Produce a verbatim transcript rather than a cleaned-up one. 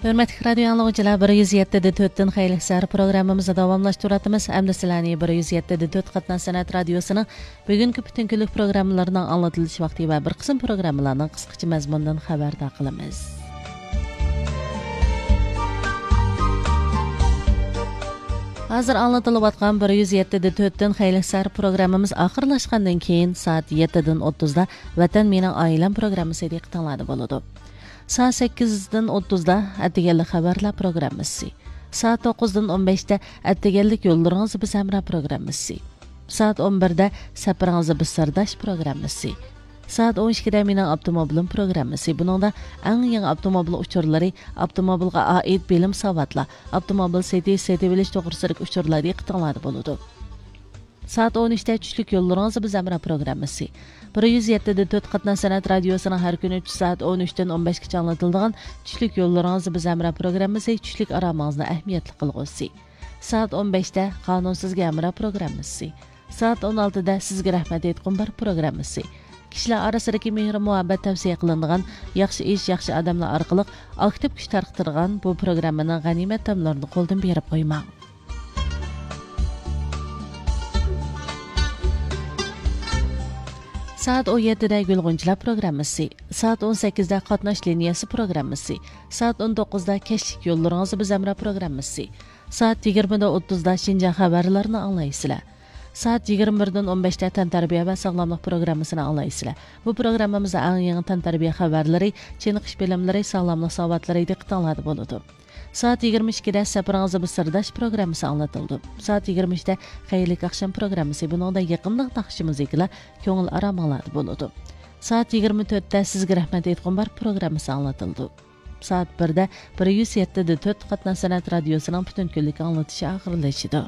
ھۆرمەتلىك رادىيو ئاڭلىغۇچىلار، بىر يۈز يەتتە دە تۆتتىن خەيرلىك سەھەر پروگراممىمىزنى داۋاملاشتۇرۇۋاتىمىز. ئەمدى سىلەرنى بىر يۈز يەتتە دە تۆت قاتناش سەنئەت رادىيوسىنىڭ بۈگۈنكى پۈتۈن كۈنلۈك پروگراممىلىرىنىڭ ئاڭلىتىلىش ۋاقتى ۋە بىر قىسىم پروگراممىلارنىڭ قىسقىچە مەزمۇنىدىن خەۋەردار قىلىمىز. ھازىر ئاڭلىتىلىۋاتقان بىر يۈز يەتتە دە تۆتتىن خەيرلىك سەھەر پروگراممىمىز ئاخىرلاشقاندىن كېيىن، سائەت يەتتىدىن ئوتتۇزدا ۋەتەن مېنىڭ ئائىلەم پروگراممىسى دىققىتىڭلاردا بولىدۇ. سائەت سەككىزدىن ئوتتۇزدا ئەتىگەنلىك خەۋەرلەر پروگراممىسى. سائەت توققۇزدىن ئون بەشتە ئەتىگەنلىك يوللىرىڭىز بىز ھەمراھ پروگراممىسى. سائەت ئون بىردە سەپىرىڭىزدە بىز سىرداش پروگراممىسى. سائەت ئون ئىككىدە مېنىڭ ئاپتوموبىلىم پروگراممىسى. بۇنىڭدا ئەڭ يېڭى ئاپتوموبىل ئۇچۇرلىرى، ئاپتوموبىلغا ئائىت بىلىم ساۋاتلار، ئاپتوموبىل سېتىش، سېتىۋېلىش توغرىسىدىكى ئۇچۇرلار دىققىتىڭلاردا بولىدۇ. سائەت ئون ئۈچتە چۈشلۈك يوللىرىڭىزدا بىز ھەمراھ پروگراممىسى. بىر يۈز يەتتە دە تۆت قاتناش سەنئەت رادىيوسىنىڭ ھەر كۈنى چۈش سائەت ئون ئۈچتىن ئون بەشكىچە ئاڭلىتىلىدىغان چۈشلۈك يوللىرىڭىزدا بىز ھەمراھ پروگراممىسى، چۈشلۈك ئارامىڭىزنى ئەھمىيەتلىك قىلغۇسى. سائەت ئون بەشتە قانۇن سىزگە ھەمراھ پروگراممىسى. سائەت ئون ئالتىدە سىزگە رەھمەت ئېيتقۇم بار پروگراممىسى. كىشىلەر ئارىسىدىكى مېھرى مۇھەببەت تەۋسىيە قىلىنىدىغان، ياخشى ئىش، ياخشى ئادەملەر ئارقىلىق ئاكتىپ كۈچ تارقىتىدىغان بۇ پروگراممىنىڭ غەنىيمەت تاملىرىنى قولدىن بېرىپ قويماڭ. سائەت ئون يەتتىدە گۈل غۇنچىلار پروگراممىسى، سائەت ئون سەككىزدە قاتناش لىنىيەسى پروگراممىسى، سائەت ئون توققۇزدا كەچلىك يوللىرىڭىزدا بىز ھەمراھ پروگراممىسى، سائەت يىگىرمىدە ئوتتۇزدا شىنجاڭ خەۋەرلىرىنى ئاڭلايسىلەر. سائەت يىگىرمە بىردىن ئون بەشتە تەنتەربىيە ۋە ساغلاملىق پروگراممىسىنى ئاڭلايسىلەر. بۇ پروگراممىمىزدا ئەڭ يېڭى تەنتەربىيە خەۋەرلىرى، چېنىقىش بىلىملىرى، ساغلاملىق ساۋاتلىرى دىققىتىڭلاردا بولىدۇ. سائەت يىگىرمە ئىككىدە سەپىرىڭىزدە بىز سىرداش پروگراممىسى ئاڭلىتىلىدۇ. سائەت يىگىرمە ئۈچتە خەيرلىك ئاخشام پروگراممىسى، بۇنىڭدا يېقىملىق ناخشا مۇزىكىلار كۆڭۈل ئارامىڭلاردا بولىدۇ. سائەت يىگىرمە تۆتتە سىزگە رەھمەت ئېيتقۇم بار پروگراممىسى ئاڭلىتىلىدۇ. سائەت بىردە بىر يۈز يەتتە دە تۆت قاتناش سەنئەت رادىيوسىنىڭ پۈتۈن كۈنلۈك ئاڭلىتىشى ئاخىرلىشىدۇ.